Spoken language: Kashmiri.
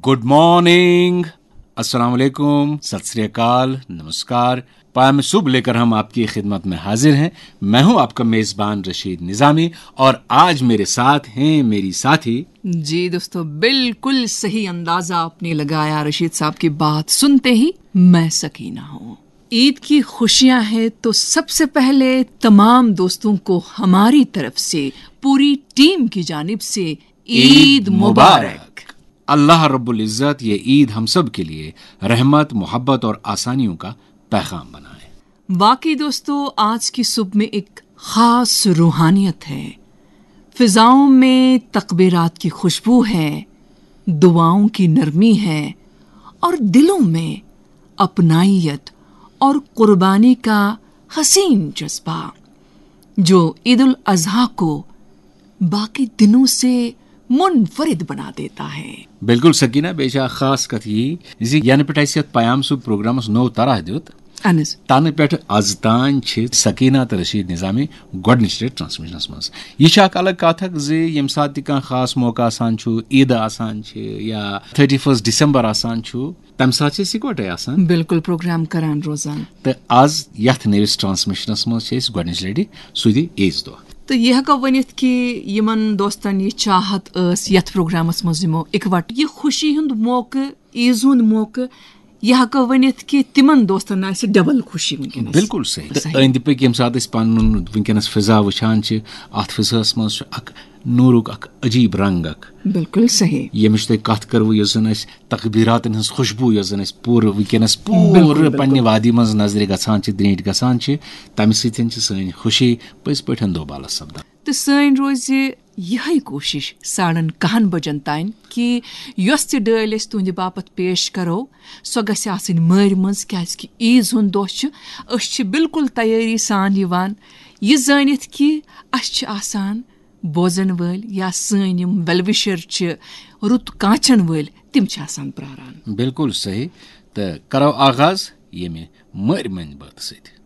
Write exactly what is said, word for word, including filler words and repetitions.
گڈ مارننگ، السلام علیکم، ست سری اکال، نمسکار۔ پیم صبح لے کر ہم آپ کی خدمت میں حاضر ہیں۔ میں ہوں آپ کا میزبان رشید نظامی، اور آج میرے ساتھ ہیں میری ساتھی۔ جی دوستو، بالکل صحیح اندازہ آپ نے لگایا رشید صاحب کی بات سنتے ہی۔ میں سکینہ ہوں۔ عید کی خوشیاں ہیں تو سب سے پہلے تمام دوستوں کو ہماری طرف سے، پوری ٹیم کی جانب سے عید مبارک۔ اللہ رب العزت یہ عید ہم سب کے لیے رحمت، محبت اور آسانیوں کا پیغام بنائے۔ واقعی دوستو، آج کی صبح میں ایک خاص روحانیت ہے۔ فضاؤں میں تکبیرات کی خوشبو ہے، دعاؤں کی نرمی ہے، اور دلوں میں اپنائیت اور قربانی کا حسین جذبہ، جو عید الاضحیٰ کو باقی دنوں سے منفرد بنا دیتا ہے۔ بالکل سکینہ، بیٚیہِ چھِ اکھ خاص کتھ یی زِ ینہٕ پٮ۪ٹھ اسہِ یتھ پیام صبح پروگرامس نوٚو طرح دیُت، اہن حظ۔ تنہٕ پٮ۪ٹھ از تام چھِ سکینہ تہٕ رشید نظامی گۄڈٕنِچ لٹہِ ٹرانسمیشنس منٛز۔ یہِ چھِ اکھ الگ کتھ اکھ زِ ییٚمہِ ساتہٕ تہِ کانٛہہ خاص موقع آسان چھُ، عیٖدٕ آسان چھِ یا تھٔرٹی فٔسٹ ڈسمبر آسان چھُ، تمہِ ساتہٕ چھِ أسۍ یکوٹے آسان۔ بالکل پروگرام کران روزان۔ تہٕ از یتھ نٔوِس ٹرانسمیشنس منٛز چھِ أسۍ گۄڈٕنِچ لٹہِ سُہ تہِ عیٖذ دۄہ۔ تہٕ یہِ ہٮ۪کو ؤنِتھ کہِ یِمن دوستن یہِ چاہت ٲس یتھ پروگرامس منٛز یِمو اِکوٹہٕ یہِ خوشی ہُنٛد موقعہٕ، عیٖز ہُنٛد موقعہٕ، یہِ ہٮ۪کو ؤنِتھ کہِ تِمن دوستن آسہِ ڈبل خوشی وٕنکیٚنس۔ بالکل صحیح۔ تہٕ أنٛدۍ پٔکۍ ییٚمہِ ساتہٕ أسۍ پنُن وٕنکیٚنس فضا وٕچھان چھِ، اتھ فضاہس منٛز چھُ اکھ نوٗرُک اکھ عجیب رنگ اکھ۔ بالکل صحیح۔ ییٚمِچ تۄہہِ کتھ کٔروٕ، یۄس زن اسہِ تقبیراتن ہنٛز خوشبو یۄس زن اسہِ پوٗرٕ وٕنکیٚنس پوٗرٕ بالکل، بالکل۔ پننہِ وادی منٛز نظرِ گژھان چھِ، درینٹھۍ گژھان چھِ، تمہِ سۭتۍ چھِ سٲنۍ خوشی پٔزۍ پٲٹھۍ دوبالس سپدان۔ تہٕ سٲنۍ روزِ یِہے کوٗشِش ساڑن کاہن بجن تام کہِ یۄس تہِ ڈٲلۍ أسۍ تُہنٛدِ باپتھ پیش کرو، سۄ گژھِ آسٕنۍ مٲرۍ منٛز، کیازِ کہِ عیٖز ہُنٛد دۄہ چھُ۔ أسۍ چھِ بالکل تیٲری سان یِوان، یہِ زٲنِتھ کہِ اسہِ چھِ آسان بوزن وٲلۍ یا سٲنۍ یِم ویل وشر چھِ، رُت کانچن وٲلۍ، تِم چھِ آسان پراران۔ بالکل صحیح۔ تہٕ کرو آغاز ییٚمہِ مٲرۍ مٔنٛدۍ بٲتہٕ سۭتۍ۔